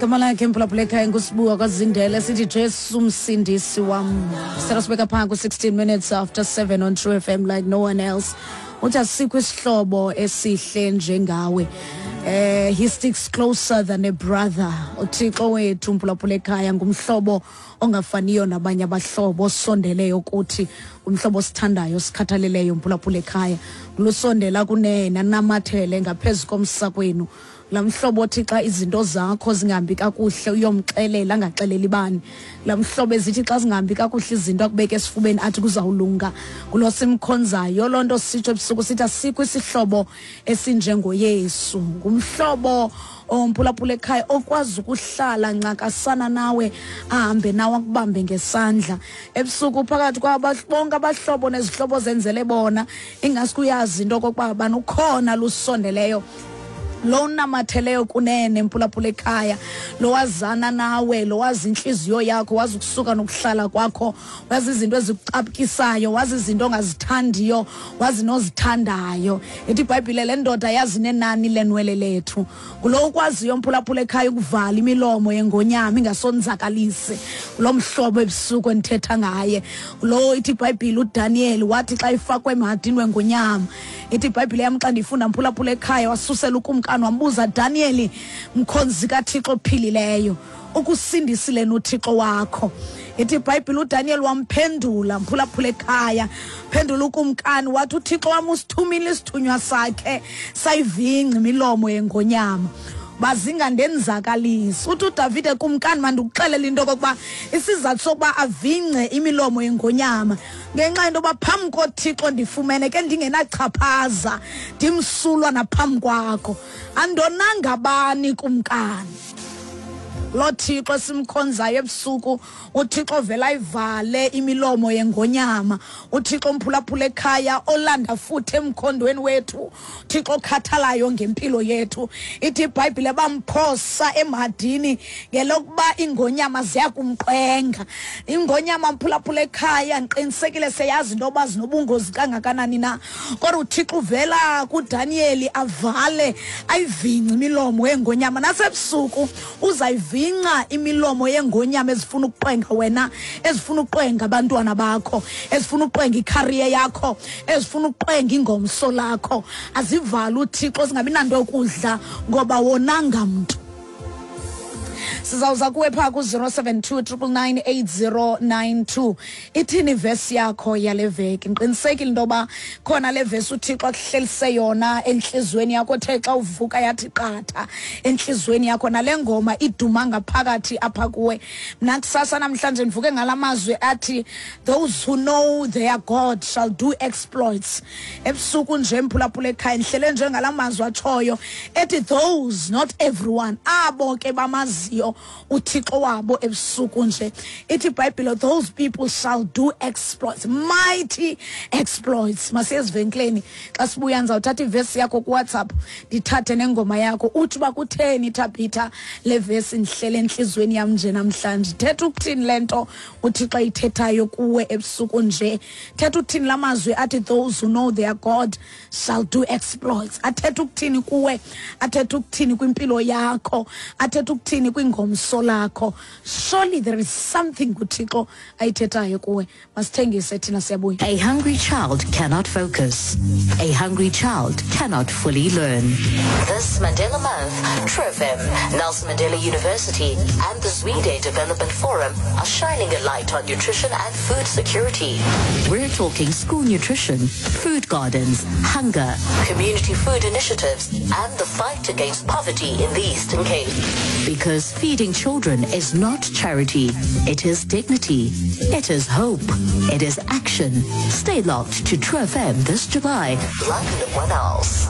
Igama lakhe, mphulaphula ekhaya, nguSibuwa kwaZindele. Sithi Jesu msindisi wam. Sicela sibeka phaa ku-16 minutes after 7 on True FM like no one else. Uthi asikho isihlobo esihle njengawe. He sticks closer than a brother. UThixo wethu, mphulaphula ekhaya, ngumhlobo ongafaniyo nabanye abahlobo, osondeleyo kuthi, umhlobo osithandayo, osikhathaleleyo, mphulaphula ekhaya. Lusondela kunene, anamathele ngaphezu komsakwenu. Laa mhlobo othi xa izinto zakho zingahambi kakuhle uyomxelela, angaxeleli bani. Laa mhlobo ezithi xa zingahambi kakuhle izinto akubeke esifubeni, athi kuzawulunga. Ngulo simkhonzayo. Loo nto sitsho ebusuku sithi asikho isihlobo esinjengoYesu. Ngumhlobo omphulaphula ekhaya okwazi ukuhlala ncakasana nawe, ahambe nawe, akubambe ngesandla ebusuku phakathi kwaba bonke abahlobo nezihlobo zenzele bona. Ingaske uyazi into okokuba bani ukhona lusondeleyo, lo unamatheleyo kunene, mphulaphula ekhaya, lo wazana nawe, lo wazi intliziyo yakho, wazi ukusuka nokuhlala kwakho, wazi izinto ezikucaphukisayo, wazi izinto ongazithandiyo, wazi nozithandayo. Ithi iBhayibhile le ndoda yazi nenani lenwele lethu. Ngulo ukwaziyo, mphulaphula ekhaya, ukuvala imilomo yengonyama ingasonzakalisi. Ngulo mhlobo ebusuku endithetha ngaye. Ngulo ithi iBhayibhile uDaniyeli wathi xa ifakwe emhadini wengonyama, ithi iBhayibhile yam xa ndiyifunda, mphulaphula ekhaya, wasusela ukumkani wambuza, "Daniyeli, mkhonzi kaThixo ophilileyo, ukusindisile noThixo wakho?" Ithi iBhayibhile uDaniel wamphendula, mphulaphula ekhaya, phendula ukumkani wathi, "UThixo wam usithumile isithunywa sakhe, sayivingca imilomo yengonyama, bazingandenzakalisi." Uthi uDavide, "Kumkani, mandikuxelele into okokuba isizathu sokuba avingce imilomo yengonyama ngenxa yento yoba phambi koThixo ndifumene ke ndingenachaphaza, ndimsulwa naphambi kwakho. Andonanga bani, kumkani." Lo Thixo simkhonzayo ebusuku, uThixo vela ayivale imilomo yengonyama, uThixo omphulaphula ekhaya olanda futhi emkhondweni wethu, Thixo okhathalayo ngempilo yethu. Ithi iBhayibhile bamphosa emhadini ngelokuba iingonyama ziyakumqwenga. Ingonyama, mphulaphula ekhaya, ndiqinisekile seyazi into yoba zinobungozi kangakanani na, kodwa uThixo uvela kuDaniyeli avale, ayivingce imilomo yengonyama. Nasebusuku uzayivingca imilomo yengonyama ezifuna ukuqwenga wena, ezifuna ukuqwenga abantwana bakho, ezifuna ukuqwenga i-career yakho, ezifuna ukuqwenga ingomso lakho. Azivale uThixo zingabi nanto yokudla, ngoba wonanga mntu. Sizawuza kuwe phaa ku-072 999 8092. Ithini ivesi yakho yale veki? Ndiqinisekile into yoba khona le vesi uThixo akuhlelise yona entliziyweni yakho, othe xa uvuka yathi qatha entliziyweni yakho, nale ngoma iduma ngaphakathi apha kuwe. Mna kusasa namhlanje ndivuke ngala mazwi athi, "Those who know their God shall do exploits." Ebusuku nje, mphulaphula ekhaya, ndihlele njengala mazwi atshoyo ethi those, not everyone, abo ke bamaziyo uThixo wabo. Ebusuku nje ithi iBhayibhile those people shall do exploits, mighty exploits. Masiye ezivenkileni. Xa sibuya ndizawuthatha ivesi yakho kuWhatsApp, ndithathe nengoma yakho, utsho uba kutheni, Thabitha, le vesi ndihlele entliziyweni yam nje namhlanje. Thetha ukuthini le nto uThixo ayithethayo kuwe ebusuku nje? Thetha ukuthini la mazwi athi "Those who know their God shall do exploits"? Athetha ukuthini kuwe? Athetha ukuthini kwimpilo yakho? Athetha ukuthini kwingomso lakho? Surely there is something uThixo ayithethayo kuwe. Masithengise thina, siyabuya. A hungry child cannot focus. A hungry child cannot fully learn. This Mandela Month, TruFM, Nelson Mandela University, and the Zwide Development Forum are shining a light on nutrition and food security. We're talking school nutrition, food gardens, hunger, community food initiatives, and the fight against poverty in the Eastern Cape. Because feeding children is not charity, it is dignity, it is hope, it is action. Stay locked to True FM this July, like no one else.